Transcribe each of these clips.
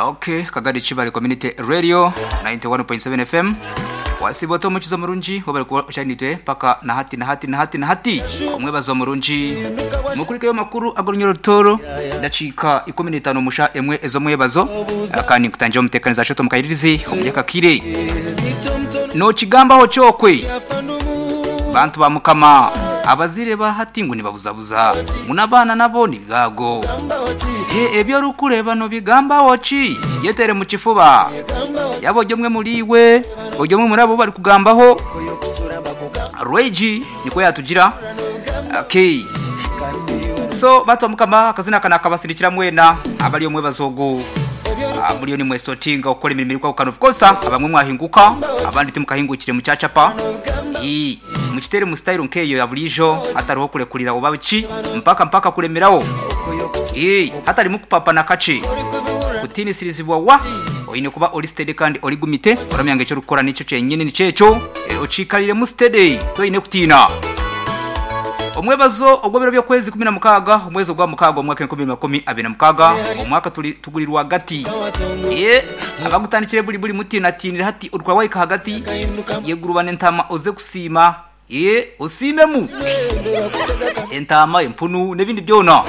Okay, Kagadi Kibale Community Radio 91.7 FM. Wasiba ota omukizi omurungi webale kuba okyari paka na hati na hati na hati na hati. Omwebazo omurungi. Mukurikeyo makuru ag'orunyoro rutoro dakiika 15 musha emwe ez'omwebazo kandi nkutangira omuteekaniza shoto mukayiririzi omunyakakire. Nokigambaho kyokwe bantu ba mukama abazire ba hati ngu nibabuzabuza ngu n'abaana nabo ni bwago. Ebyo orikureeba nobigambaho ki? Yetere mu kifuba. Yaba ori omwe muri iwe, ori omwe muri abo barikugambaho. Rwegi nikwo yatugira. Okay. So bantu ba mukama akazina aka nakabasindikira mwena abari omwebazo ogu. Muriyo nimwesotinga okukora emirimo erikwahukana of course abamwe mwahinguka abandi timukahingukire mukyacapa. Ii, mukitere mu style nkeyo ya burijo hatariho kurekurira oba ki mpaka mpaka kuremeraho. Ii, hatarimu kupapa na kakye. Kutiinisirizibwa wa oine kuba ori steady kandi ori gumite oramanya ngu eki orikukora nikyo kyenyini nikyo ekyo okiikariremu steady toine kutiina. Omwebazo ogw'ebiro by'okwezi 16 omwezi ogwa mukaaga omwaka 2026 omwaka turi tuguri rwagati. Ee, abagutandikire buri buri mutiinatiinire hati orikura wahika ahagati yegurubana entaama oze kusiima. Ee, osiimemu entaama, empunu n'ebindi byona.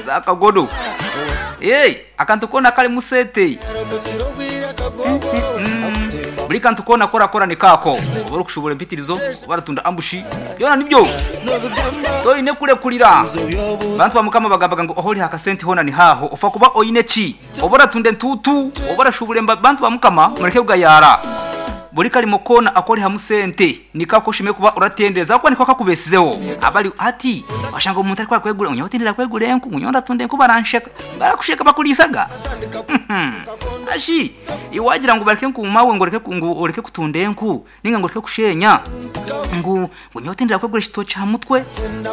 Zaakagodo. Ee, akantu koona karimu sente. Buri kantu koona aku orakora ni kaako. Oba orikushuubura empitirizo, oba oratunda ambushi, byona nibyo. Toine kurekurira. Bantu ba Mukama bagambaga ngu ahu oriha akasente hoona ni haaho. Ofa kuba oine ki? Oba oratunda entuutu, oba orashuubura emba. Bantu ba Mukama mureke kugayaara. Buri karimo koona aku orihamu sente niko aku oshemereire kuba oratendereza ahabw'okuba niko kakubeesizeho. Abari hati washanga omuntu arikuba arikwegura ngu nyowe tindenda kwegura enku, ngu nyowe ndatunda enku baransheka. Barakusheka bakuriisaga? Hashi iwe wagira ngu bareke ngu maawe ngu oreke ngu oreke kutunda enku ninga ngu oreke kushenya ngu ngu nyowe tindenda kwegura ekitookye aha mutwe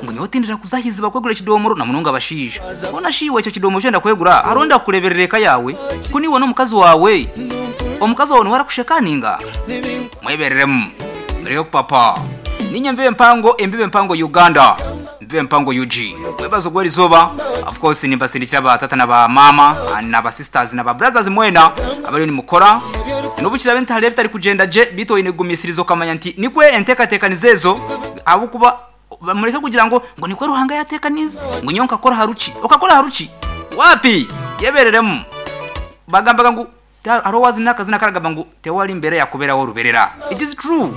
ngu nyowe tindenda kuza aha iziba kwegura ekidoomoro na munonga abashaija. Hoona shi iwe ekyo kidoomoro eki orenda kwegura hariho orenda kukureeberera eka yaawe? Ku niiwe n'omukazi waawe, omukazi waawe niwe arakusheka ninga? Mwebereremu mureke kupapa. Niinye Mbibe Mpango, Embibe Mpango Uganda. Mbibe Mpango UG. Mwebazo gw'erizooba, of course nimbasindikira ba tata na ba maama na ba sisters na ba brothers mwena abariyo nimukora. N'obu kiraabe nti hariho ebitari kugyenda gye, beitu oine kugumisiriza okamanya nti nikwo enteekateeka nizo ezo ahabw'okuba mureke kugira ngu ngu nikwo Ruhanga yaateekaniize ngu nyowe nkakora aha ruki. Okakora aha ruki? Waapi! Yebeereremu. Bagambaga ngu Hariho owazina akazina akaragamba ngu tewari mbera yakuberaho ruberera. It is true.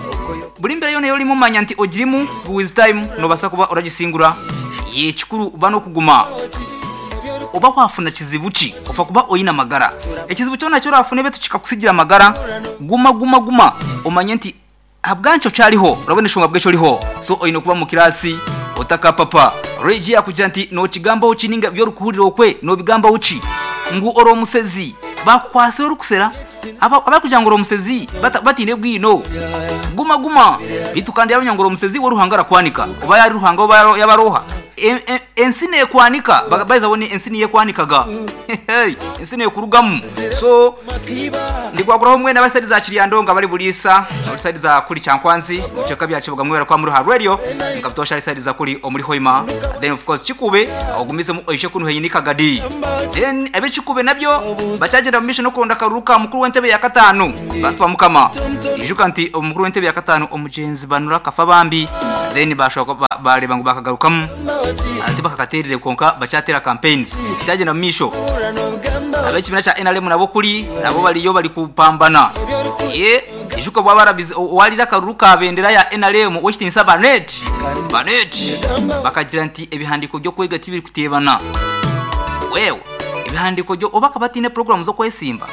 Buri mbera yona eyorimu manya nti ogirimu with time nobasa kuba oragisingura. Ekikuru ba nokuguma. Oba wafuna kizibu ki ofa kuba oyine amagara. Ekizibu kyona eki orafune betu kikakusigira amagara, guma guma guma omanye nti Ahabw'enki okyariho? Orabona enshonga ahabw'eki oriho? So oine kuba omu kiraasi otakapapa. Regi yaakugira nti, Nookigambaho ki nainga ebi orikuhurira okwe noobigambaho ki? Ngu ori omusezi. Baakukwatsire orikusera? Aba abarikugira ngu ori omusezi bataine bwino. Guma guma. Beitu kandi yaamanya ngu ori omusezi, we Ruhanga arakwanika. Oba yaaba ari Ruhanga oba yaaba ari oha. Ensi neekwanika. By the way, ensi niyo ekwanikaga. Ensi neekurugamu. So. Ndikwaguraho mwena abari saidi za Kiryandongo, abari Buliisa, abari saidi za kuri Kyankwanzi, omu bicweka bya Kiboga mwebare kuba muri aha Radio, nka butoosha ari saidi za kuri omuri Hoima, then of course Kikube ogumizemu oije kunu haihi ni Kagadi. Then ab'e Kikube nabyo bakyagyenda omu maisho n'okuronda akaruru ka mukuru w'entebe ya kataano. Bantu ba Mukama, ijuka nti omukuru w'entebe ya kataano omugyenzi Banura Kafabambi, then baashobora kuba baareeba ngu baakagarukamu. Tibakakateerire kwonka bakyateera campaigns. Kyagyenda omu maisho. Ab'ekibiina kya nrm nabo kuri nabo bariyo bari kupambana. Ye, ijuka obu abarabize owariire akaruru ka bendera ya nrm ow'ekitiinisa Barnett, Barnett, bakagira nti ebihandiiko by'okwega tibirikuteebana. Wewe, ebihandiiko byo oba akaba ataine puroguraamu z'okwesimba?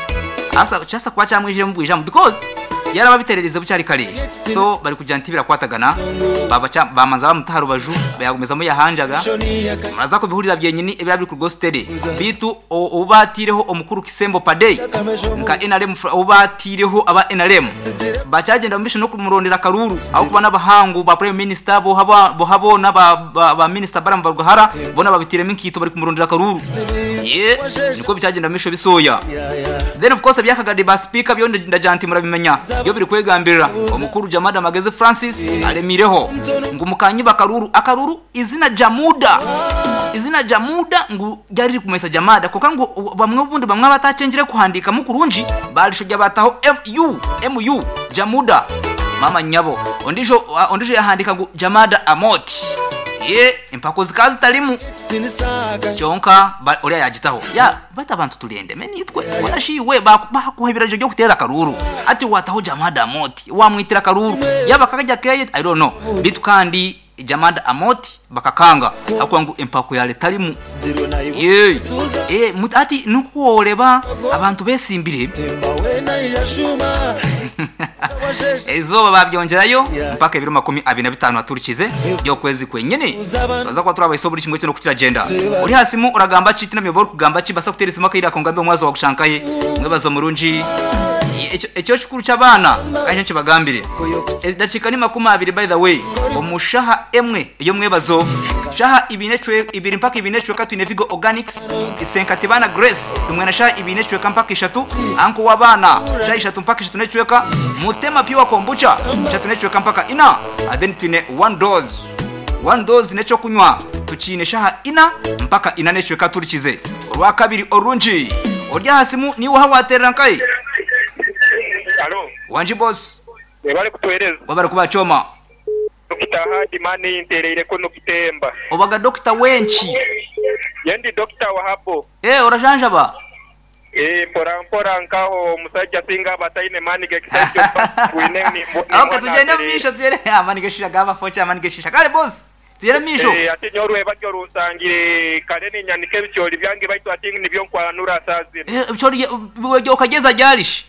Asa kyasa kuba kyamwijiremu bwijamu because yaraba abitererize bukyari kare. So barikugira nti tibirakwatagana baba bamanza bamuta aha rubaju yagumizamu yahanjaga. Muraza kubihurira byenyini ebiraba biri kuruga steady. Beitu ou baataireho omukuru Kisembo Padey nka nrm ou baataireho aba nrm bakyagyenda omu maisho n'okumurondera akaruuru ahabw'okuba n'abahangu ba Prime Minister boha boona ba Minisita Balaam Barugahara boona babiteiremu enkaito barikumurondera akaruuru. Yee nikwo bikyagyenda omu maisho bisooya. Then of course ebya Kagadi ba sipiika byo ndagira nti murabimanya byo birikwegambirira. Omukuru Jamada Magezi Francis aremiireho ngu mukanyiba akaruuru akaruuru izina Jamuda. Izina Jamuda ngu ryari ririkumanyisa Jamada kwonka ngu bamwe obundi bamwe abatakyengire kuhandiikamu kurungi barishobya bataho MU, MU, Jamuda. Maama nyabo. Ondiijo ondiijo yahandiika ngu Jamada Amoti. Ye, empako zikaba zitarimu. Kyonka oriya yagitaho. Ya, baitu abantu turi endeme naitwe. Mbwenu shi iwe baakuha ebiragiro by'okuteera akaruuru, hati waataho Jamada Amoti, waamwitira akaruuru. Yaaba karya akeye, I don't know. Beitu kandi Jamada Amoti bakakanga ahabw'okuba ngu empako yaaba etarimu. Ye, eh, hati nikwo oreba abantu besimbire. Eizooba baabyongyerayo mpaka ebiro 25 aturikize by'okwezi kwenyini. Twaza kuba turabahisaho buri kimwe kyona oku kiragyenda. Ori aha simu oragamba ki? Tihaine obu orikugamba ki? Mbaasa kuteera esimu akaire ako ngambe omwazi waagushanga nkahe? Mwebaze omurungi. Ekyo kikuru ky'abaana kandi nikyo nkibagambire. Edakiika ni 20 by the way omu shaha emwe ey'omwebazo. Shaha ibiri mpaka ibiri n'ekicweka twine Vigo Organics, Isenkatibana Grace tumwe na shaha ibiri n'ekicweka mpaka ishatu, Anko w'abaana shaha ishatu mpaka ishatu n'ekicweka, Mutema Pure Kombucha ishatu n'ekicweka mpaka ina, then twine One Dose. One Dose n'ekyokunywa tukiine shaha ina mpaka ina n'ekicweka turikize. Orwakabiri orurungi. Ori aha simu niiwe oha waterera nkahi? Halo. Wangi boss. Webale kutuhereza. Webale kuba Choma. Dokita Hard mani ntereire kunu kutemba. Obaga dokita wenki? Nyowe ndi dokita wa habo. Eeh orajanjaba? Eeh mpora mpora nkaho omusajja singa aba ataine mani gekisaija okuba twine nimwo Ok tugyende omumaisho tugyende amani geshisha gaba fokye amani geshisha kare boss tugyende omumaisho. Eeh hati nyowe orwebagyo runsangire kare ninyanika ebicoori byange baitu hati nibyo nkwanura saaha zinu. Eeh ebicoori okagyeza ryari shi?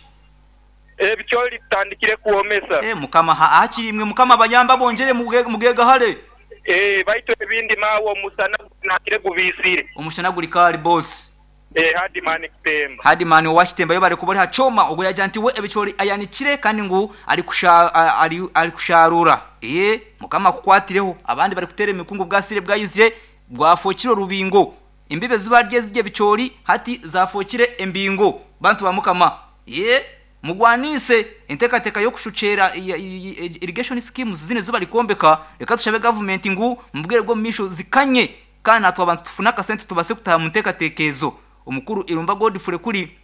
Ebicoori bitandikire kwomesa. Eeh mukama hakiri imwe mukama abayambe abongyere mugegahare. Eeh baitu ebindi maawe omusana gunakire gubiisire. Omushana guri kaari boss. Eeh Hardman Kitemba. Hardman owa Kitemba yebare kuba ori ha kyoma ogwo yagira nti we ebicoori ayanikire kandi ngu ari kusharuura. Eeh mukama akukwatireho abandi bari kuteera emikungu bwasire bwayizire bwafokire orubingo. Embibo ezi barya ezirya ebicoori hati zafookire embingo. Bantu ba Mukama, yee, mugwaniise enteekateeka y'okushukyera irrigation schemes zinu ezi barikwombeka. Reka tushabe gavumenti ngu omu bwire bw'omu maisho zikanye kandi natwe abantu tufune akasente tubaase kutaaha omu nteekateeka ezo. Omukuru Irumba Godfrey kuri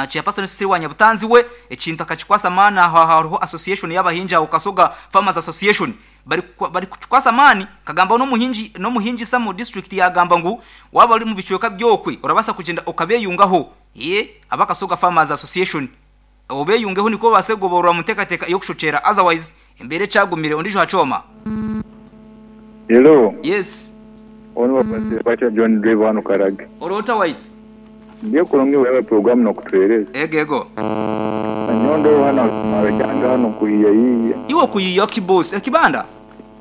Chairperson Cecily wa Nyabutanzi we ekintu akakikwasa amaani aho hariho association y'abahingi aho Kasoga Farmers Association bari kukikwasa amaani kagambaho n'omuhingi n'omuhingisa mu district yagamba ngu waba ori mu bicweka byokwe orabaasa kugyenda okabeyungaho ye aba Kasoga Farmers Association obeyungeho nikwo obaase kugoborora mu nteekateeka ey'okushokyera otherwise embeera ekyagumire ondiijo ha kyoma. Hello. Yes. Onu bakwasire batya John Driver hanu Karage. Oroota waitu. Ndiyo kurungi webale program nokutuhereza. Ego ego. Nanyowe ndoho hanu aha kyange hanu nkuhiyahiiya. Iwe okuyiiya ki boss? Ekibanda?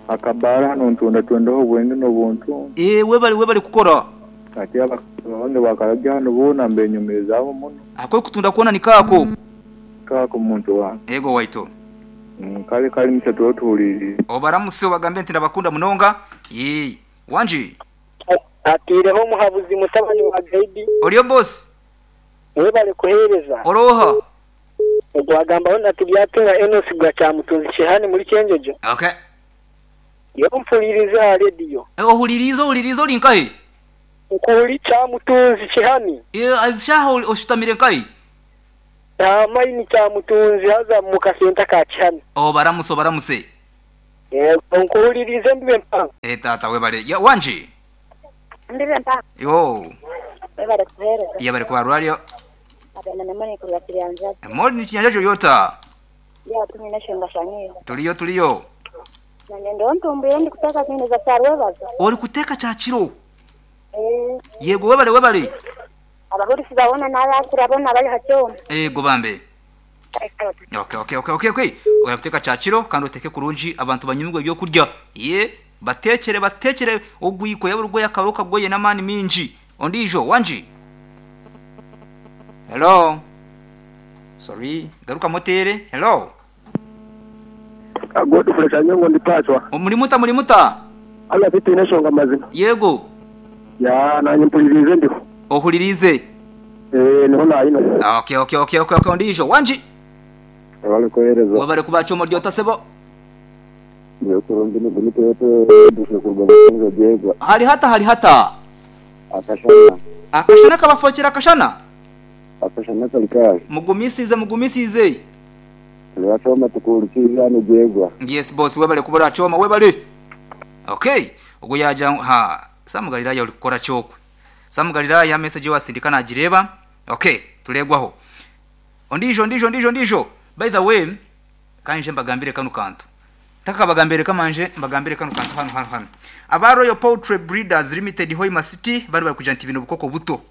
Akabaara hanu ntundatundaho obwenge nobuntu. Eeh webale webale kukora. Ati abakama bange ba Karagye hanu boona mbenyumirizaaho muno. Aku orikutunda koona ni kaako? Kaako muntu wange. Ego waitu. Kale kale nikyo tuba tuhuriirize. Obaramuse obagambe nti ndabakunda munonga. Yee. Wangi. Ataireho omuhabuzi mutabani wa Gaidi. Oriyo boss? Webale kuhereza. Ori oha? Ogwo agambaho na Tibyatunga Enos gwa Kyamutunzi Kihani muri Kyenjojo. Okay. Nyowe mpuririze aha rediyo. Ohuririize ohuririize ori nkahi? Nkuri Kyamutunzi Kihani. Ezi shaaha oshutamire nkahi? Aha mayini Kyamutunzi haza mu kasenta ka Kihani. Obaramuse obaramuse. Yego nkuhuririize mbibe mpango. Eh taata webale. Ya wangi. Mbibe mpango. Yoo. Webale kuhereza. Yebale kubarwaryo. Agenda na Moni kuruga Kiryanjajo. Moni ni Kinyanjajo ori ota? Ya tumwine eshonga shanyiiho. Turiyo turiyo. Nanye ndiho ntumbwire ndikuteeka kwineza kyarwebazo. Ori kuteeka kyakiro? Eeh. Yego webale webale. Abahurisiza boona n'abakura boona abari ha kyoma. Eego bambe. Okay okay okay okay okay. Oya kuteeka kyakiro kandi oteeke kurungi abantu banyumirwe ebyokurya. Yee bateekyere bateekyere ogwiko yaba ori gwoya akaba okagwoye n'amaani mingi. Ondiijo wangi? Hello. Sorry garukamu oteere. Hello. Godfrey Kanyongo ndi Pacwa. Muri muta muri muta? Hati titwine enshonga mazima. Yego. Yaa nanye mpuririize ndiho. Ohuririize? Eeh niho nayine. Okay okay okay okay okay ondiijo wangi? Webale kuhereza. Webale kuba Choma ori ota sebo? Ndiyo kurungi ni Godfrey kuruga Bukinzo Jegwa. Hari hata hari hata? Akashana. Akashana kabafokire akashana? Akashana kari kaahi? Mugumisiize mugumisiize. Turakyoma tukuhurikiize aha nigyegwa. Yes boss webale kuba orakyoma webale. Okay ogwo yagira ngu ha Sam Galilaya ori kukora ki okwe? Sam Galilaya message ei wasindika nagireeba. Okay tureegwaho. Ondiijo ondiijo ondiijo ondiijo. By the way ka nyije mbagambire kanu kantu. Ntakabagambire reka manje mbagambire kanu kantu hanu hanu hanu. Aba Royal Poultry Breeders Limited Hoima City bari bari kugira nti bine obukoko buto.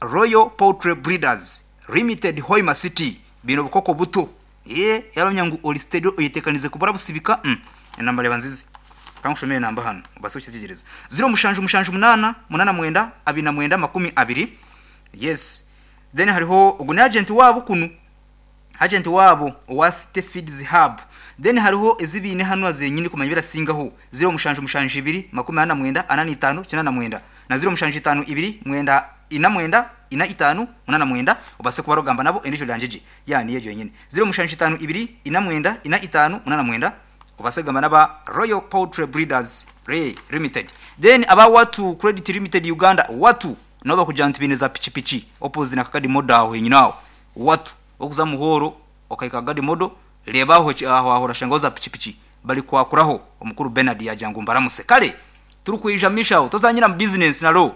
Royal Poultry Breeders Limited Hoima City baine obukoko buto. Eeh yaaba oramanya ngu ori steady oyeteekanize kuba orabusibika umm enamba reeba nzizi. Ka nkushomere enamba hanu obaase kukyetegyereza. 07 7 8 9 29 20 yes then hariho ogu ni agent waabo kunu. Agent waabo owa City Feeds Hub. Then hariho ezi baine hanu zenyini kumanya ebirasingaho, 07 7 2 49 45 89 na 07 5 2 9 4 9 5 89 obaase kuba oragamba nabo endiijo orangye gye. Yeah niyo egyo yenyini. 07 5 2 4 9 5 89 obaase kugamba n'aba Royal Poultry Breeders Limited. Then aba Watu Credit Limited Uganda, Watu, nabo bakugira nti baine za pikipiki opposite na Kakadi Model aho henyini aho. Watu, orikuza Muhoro okahika Kakadi Model, reeba aho aho aho orashangaho za pikipiki barikwakuraho. Omukuru Bernard yaagira ngu mbaramuse. Kare turikwija mishaho, tozanyira mu bizinesi na lo.